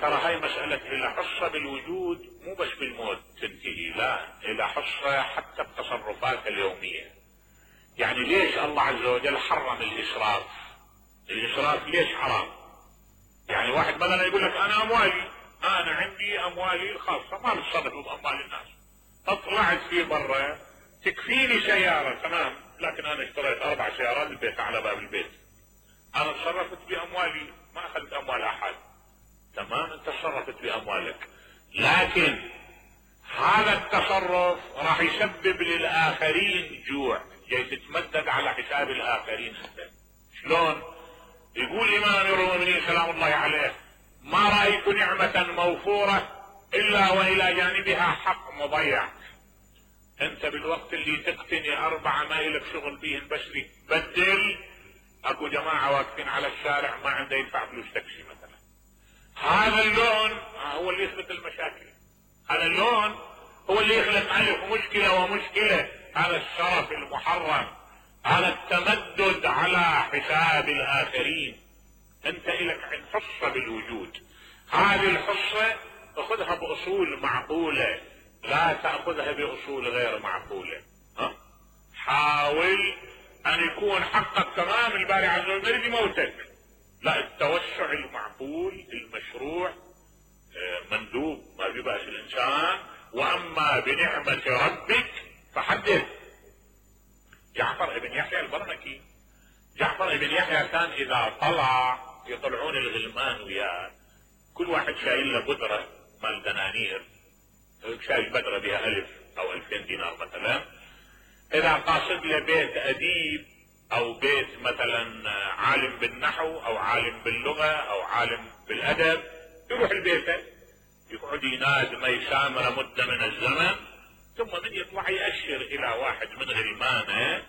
S1: ترى هاي مسألة الى حصة بالوجود مو بس بالموت تنتهي، لا، الى حصة حتى بتصرفات اليومية. يعني ليش الله عز وجل حرم الاسراف؟ الاسراف ليش حرام؟ يعني واحد مثلا يقول لك انا اموالي، انا عندي اموالي الخاصة ما بتصرف باموال الناس، طلعت في برا تكفيني سيارة، تمام، لكن انا اشتريت 4 سيارات البيت على باب البيت، انا تصرفت باموالي ما اخذت اموال احد، تمام، انت تصرفت باموالك، لكن هذا التصرف راح يسبب للاخرين جوع، جاي تتمدد على حساب الاخرين انت. شلون؟ يقول امام المؤمنين سلام الله عليه ما رايت نعمة موفورة الا والى جانبها حق مضيع. انت بالوقت اللي تقتني 4 ما الك شغل بيهن بس تبدل، اكو جماعة واقفين على الشارع ما عنده يدفع فلوس تاكسي مثلا. هذا اللون هو اللي يخلق المشاكل، هذا اللون هو اللي يخلق ألف مشكلة ومشكلة. هذا الشرف المحرم، هذا التمدد على حساب الآخرين. انت إلك عند حصة بالوجود، هذه الحصة تأخذها بأصول معقولة، لا تأخذها بأصول غير معقولة. حاول أن يكون حقك تمام، الباري عز وجل يموتك، لا، التوسع المعقول المشروع مندوب، ما في بأس الإنسان. وأما بنعمة ربك فحدث. جعفر بن يحيى البرمكي، جعفر بن يحيى كان إذا طلع يطلعون الغلمان وياه، كل واحد شايل له بدرة مال دنانير، شايل بدرة بها 1000 أو 2000 دينار مثلا. إذا قاصد له بيت أديب أو بيت مثلا عالم بالنحو أو عالم باللغة أو عالم بالأدب، يروح البيت يقعد يناد ما يسامر مدة من الزمن، ثم من يطلع يأشر إلى واحد من غلمانه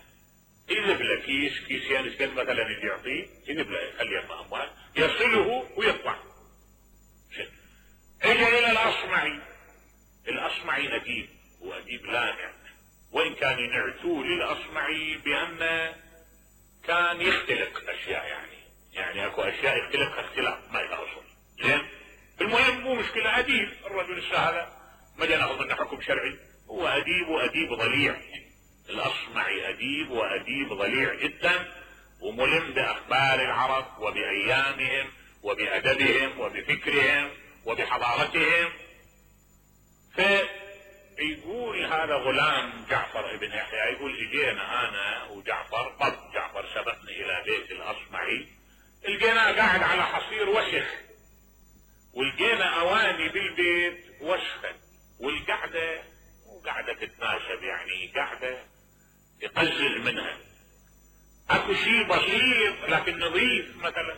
S1: يذب له كيسين كذا مثلا يجي يعطيه، يذب له يخليه أموال، يصله ويطلع. اجى إلى الأصمعي، الأصمعي أديب وأديب لامع، وإن كان ينعتوه للأصمعي بأن كان يختلق أشياء، يعني أكو أشياء يختلق اختلاف ما إلى أصل. زين، المهم مو مشكلة، أديب الرجل هذا ما جاء ناخذ منه حكم شرعي، هو أديب وأديب ضليع. الأصمعي أديب وأديب ضليع جدا، وملم بأخبار العرب وبأيامهم وبأدبهم وبفكرهم وبحضارتهم. فيقول هذا غلام جعفر ابن يحيى، يقول اجينا انا وجعفر، جعفر سبقني الى بيت الأصمعي، لقيناه قاعد على حصير وسخ، ولقينا اواني بالبيت وسخة، والقعدة مو قاعدة تتناسب، يعني قاعدة يقزز منها. اكو شيء بسيط لكن نظيف مثلا،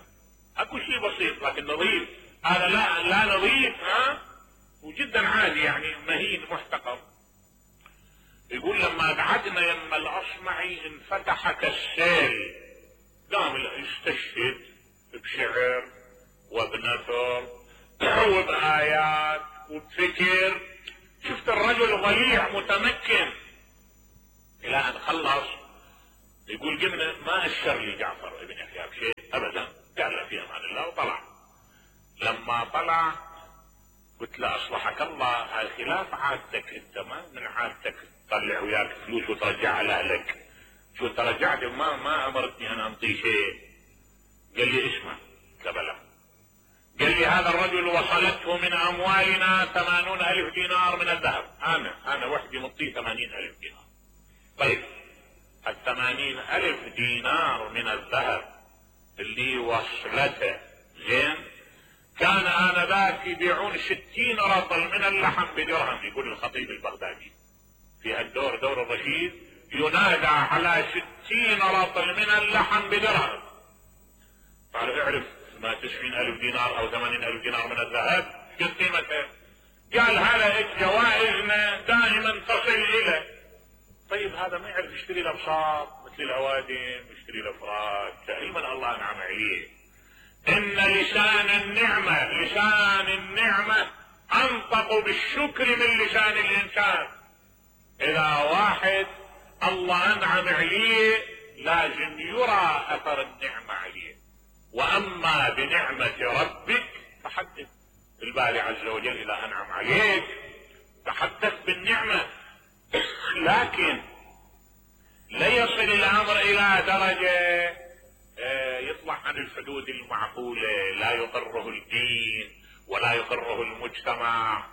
S1: اكو شيء بسيط لكن نظيف، هذا لا نظيف، وجدا عادي، يعني مهين محتقر. يقول لما قعدنا يم الأصمعي انفتح كالسيل، قام يستشهد بشعر وبنثر وبآيات وبفكر. شفت الرجل ضليع متمكن، الى ان خلص يقول قمنا ما اشر لي جعفر ابن يحيى بشيء ابدا، قال له في امان الله وطلع. لما طلع قلت له اصلحك الله، هاي خلاف عادتك، انت ما من عادتك تطلع وياك فلوس وترجعها لاهلك، شو ترجعت ما امرتني انا انطي شيء. قال لي اسمع، قلت له بلى. قال لي هذا الرجل وصلته من اموالنا 80,000 دينار من الذهب، انا وحدي مطيه 80,000 دينار. طيب ال80,000 دينار من الذهب اللي وصلته زين، كان آنذاك يبيعون 60 رطل من اللحم بدرهم. يقول الخطيب البغدادي في هالدور دور الرشيد ينادى على 60 رطل من اللحم بدرهم. قال اعرف ما 90,000 دينار او 80,000 دينار من الذهب قد قيمته؟ قال هذا جوائزنا دائما تصل اليه. طيب هذا ما يعرف يشتري له بساط مثل الاوادم، يشتري له فراش، علما الله انعم عليه. ان لسان النعمة انطق بالشكر من لسان الانسان. اذا واحد الله انعم عليه لازم يرى اثر النعمة عليه. واما بنعمة ربك فحدث. الباري عز وجل اذا انعم عليك تحدث بالنعمة، لكن لا يصل الامر الى درجة يطلع عن الحدود المعقولة، لا يقره الدين ولا يقره المجتمع.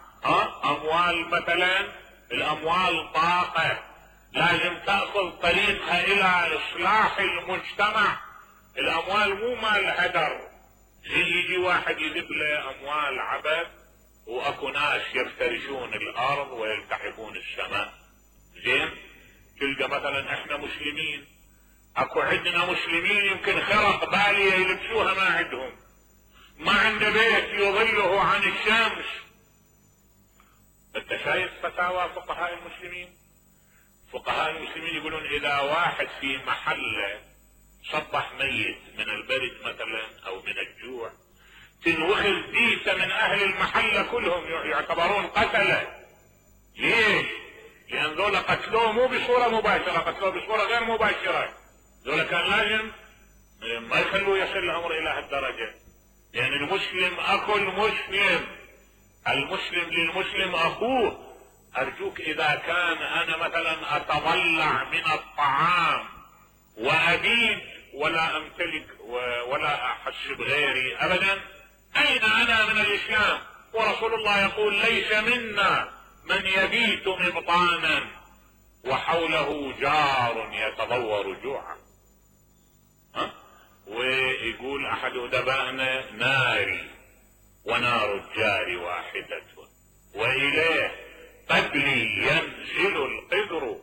S1: اموال مثلا، الاموال طاقة لازم تأخذ طريقها الى اصلاح المجتمع. الاموال مو مال هدر، يجي واحد يذب له اموال عبث واكو ناس يفترشون الارض ويلتحفون السماء. زين، تلقى مثلا احنا مسلمين اكو عندنا مسلمين يمكن خرق بالية يلبسوها ما عندهم، ما عنده بيت يظله عن الشمس. انت شايف فتاوى فقهاء المسلمين؟ فقهاء المسلمين يقولون اذا واحد في محله صبح ميت من البرد مثلا او من الجوع، تنوخذ ديسة من اهل المحلة كلهم يعتبرون قتلة. ليش؟ لان ذولا قتلوه مو بصورة مباشرة، قتلوه بصورة غير مباشرة. ذولا كان لازم ما يخلوه يصل الامر الى هالدرجة، لان المسلم اخو المسلم، المسلم للمسلم اخوه. ارجوك اذا كان انا مثلا اتضلع من الطعام وابيد ولا امتلك ولا احسب غيري ابدا، اين انا من الاسلام؟ ورسول الله يقول ليس منا من يبيت مبطانا وحوله جار يتضور جوعا. ويقول احد ادبائنا ناري ونار الجار واحدة واليه قبلي ينزل القدر،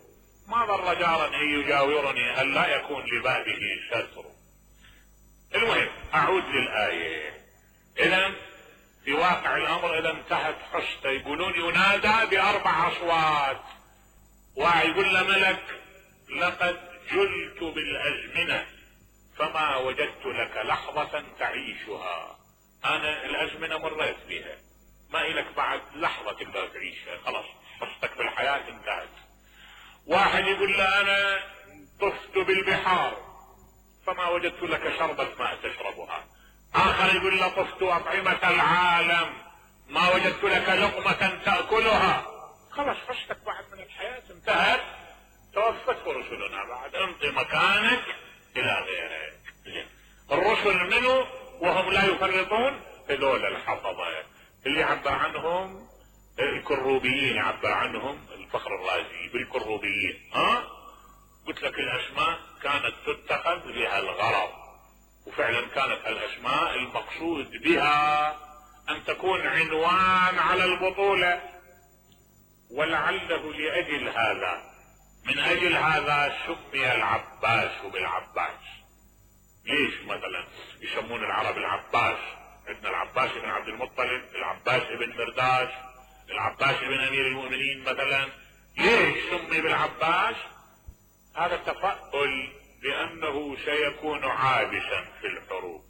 S1: ما ضر جارا ان يجاورني ان لا يكون لبابه ستر. المهم اعود للآية. اذا في واقع الامر اذا انتهت حسته، يقولون ينادى باربع اصوات. واحد يقول له ملك لقد جلت بالازمنة فما وجدت لك لحظة تعيشها، انا الازمنة مريت بها، ما إلك بعد لحظة تقدر تعيشها، خلاص حصتك بالحياة انتهت. واحد يقول له انا طفت بالبحار فما وجدت لك شربة ماء تشربها. اخر يقول له طفت اطعمة العالم ما وجدت لك لقمة تأكلها. خلاص حصتك بعد من الحياة انتهت، توفت رسلنا بعد، امضي مكانك الى غيرك. الرسل منه وهم لا يفرطون، هذول الحفظة اللي يعبر عنهم الكروبيين، يعبر عنهم الفخر الرازي بالكروبيين. قلت لك الاسماء كانت تتخذ لها الغرض، وفعلا كانت الاسماء المقصود بها ان تكون عنوان على البطولة، ولعله لاجل هذا، من اجل هذا سمي العباس بالعباس. ليش مثلا يسمون العرب العباس؟ عندنا العباس بن عبد المطلب، العباس بن مرداس، العباس بن امير المؤمنين مثلا. ليش سمي بالعباس؟ هذا تفاؤل بانه سيكون عابسا في الحروب،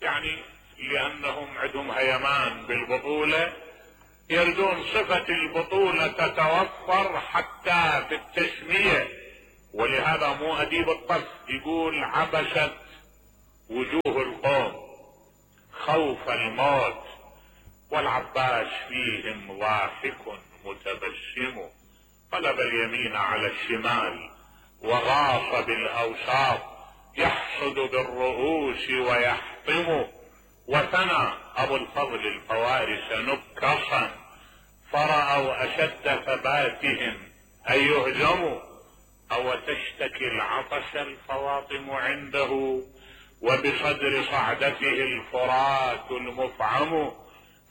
S1: يعني لانهم عندهم هيمان بالبطولة، يردون صفة البطولة تتوفر حتى في التسمية. ولهذا مو أديب الطف يقول عبست وجوه القوم خوف الموت والعباس فيهم ضاحك متبسم، قلب اليمين على الشمال وغاص بالأوساط يحصد بالرؤوس ويحطم، وثنى أبو الفضل الفوارس نكصا فرأوا أشد ثباتهم أن يهزموا، أو تشتكي العطش الفواطم عنده وبصدر صعدته الفرات المفعم،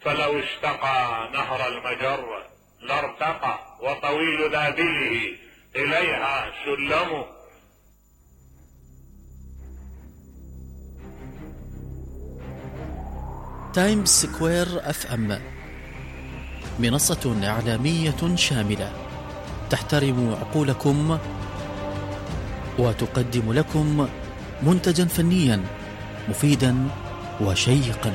S1: فلو استقى نهر المجر لارتقى وطويل ذابله إليها سلم.
S2: تايمز سكوير FM منصة إعلامية شاملة تحترم عقولكم وتقدم لكم منتجا فنيا مفيدا وشيقا.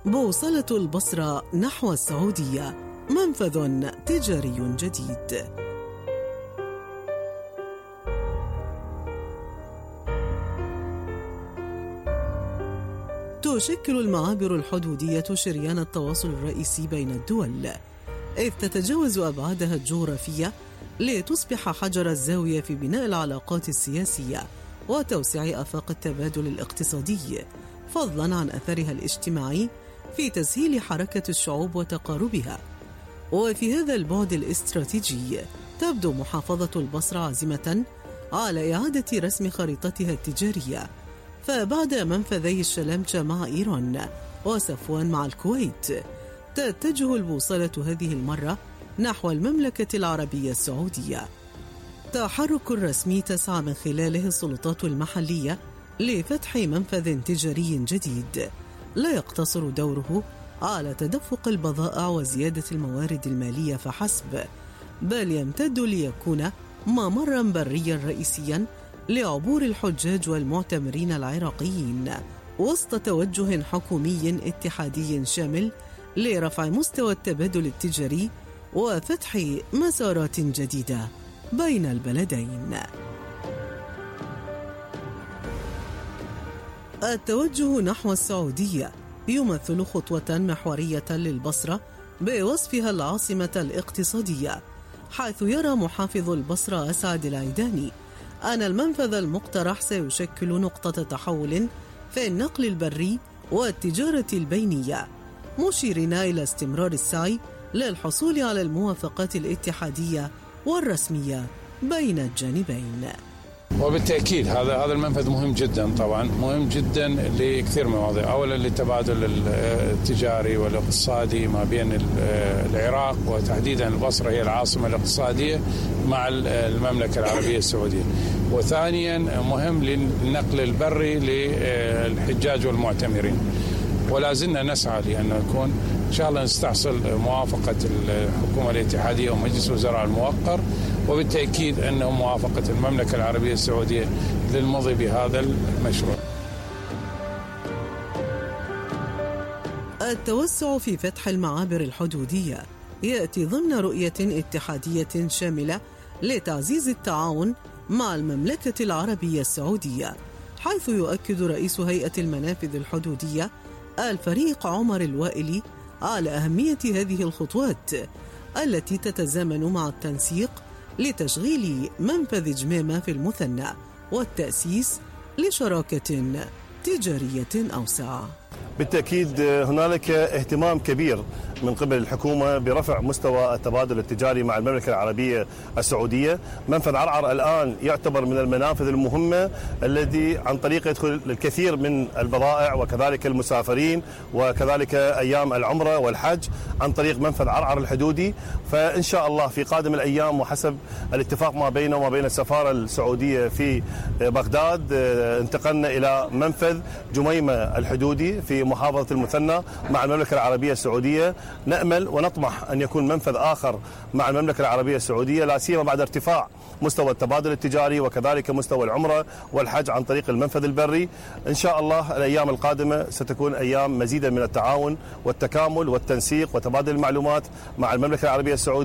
S3: بوصلة البصرة نحو السعودية، منفذ تجاري جديد. تشكل المعابر الحدودية شريان التواصل الرئيسي بين الدول، إذ تتجاوز أبعادها الجغرافية لتصبح حجر الزاوية في بناء العلاقات السياسية وتوسيع آفاق التبادل الاقتصادي، فضلاً عن أثرها الاجتماعي في تسهيل حركة الشعوب وتقاربها. وفي هذا البعد الاستراتيجي تبدو محافظة البصرة عازمة على إعادة رسم خريطتها التجارية، فبعد منفذي الشلامشة مع إيران وصفوان مع الكويت تتجه البوصلة هذه المرة نحو المملكة العربية السعودية، تحرك رسمي تسعى من خلاله السلطات المحلية لفتح منفذ تجاري جديد لا يقتصر دوره على تدفق البضائع وزيادة الموارد المالية فحسب، بل يمتد ليكون ممرا بريا رئيسيا لعبور الحجاج والمعتمرين العراقيين، وسط توجه حكومي اتحادي شامل لرفع مستوى التبادل التجاري وفتح مسارات جديدة بين البلدين. التوجه نحو السعودية يمثل خطوة محورية للبصرة بوصفها العاصمة الاقتصادية، حيث يرى محافظ البصرة أسعد العيداني أن المنفذ المقترح سيشكل نقطة تحول في النقل البري والتجارة البينية، مشيرين إلى استمرار السعي للحصول على الموافقات الاتحادية والرسمية بين الجانبين.
S4: وبالتأكيد هذا المنفذ مهم جدا، طبعا مهم جدا لكثير من المواضيع. أولا للتبادل التجاري والاقتصادي ما بين العراق وتحديدا البصرة هي العاصمة الاقتصادية مع المملكة العربية السعودية، وثانيا مهم للنقل البري للحجاج والمعتمرين، ولا زلنا نسعى لأن نكون إن شاء الله نستحصل موافقة الحكومة الاتحادية ومجلس الوزراء الموقر، وبالتأكيد أنه موافقة المملكة العربية السعودية للمضي بهذا المشروع.
S3: التوسع في فتح المعابر الحدودية يأتي ضمن رؤية اتحادية شاملة لتعزيز التعاون مع المملكة العربية السعودية، حيث يؤكد رئيس هيئة المنافذ الحدودية الفريق عمر الوائلي على أهمية هذه الخطوات التي تتزامن مع التنسيق لتشغيل منفذ جميمة في المثنى والتأسيس لشراكة تجارية أوسع.
S5: بالتأكيد هنالك اهتمام كبير من قبل الحكومة برفع مستوى التبادل التجاري مع المملكة العربية السعودية. منفذ عرعر الآن يعتبر من المنافذ المهمة الذي عن طريق يدخل الكثير من البضائع وكذلك المسافرين وكذلك أيام العمرة والحج عن طريق منفذ عرعر الحدودي. فإن شاء الله في قادم الأيام وحسب الاتفاق ما بينه وما بين السفارة السعودية في بغداد انتقلنا إلى منفذ جميمة الحدودي في محافظة المثنى مع المملكة العربية السعودية. نأمل ونطمح أن يكون منفذ آخر مع المملكة العربية السعودية، لا سيما بعد ارتفاع مستوى التبادل التجاري وكذلك مستوى العمرة والحج عن طريق المنفذ البري. إن شاء الله الأيام القادمة ستكون أيام مزيدا من التعاون والتكامل والتنسيق وتبادل المعلومات مع المملكة العربية السعودية.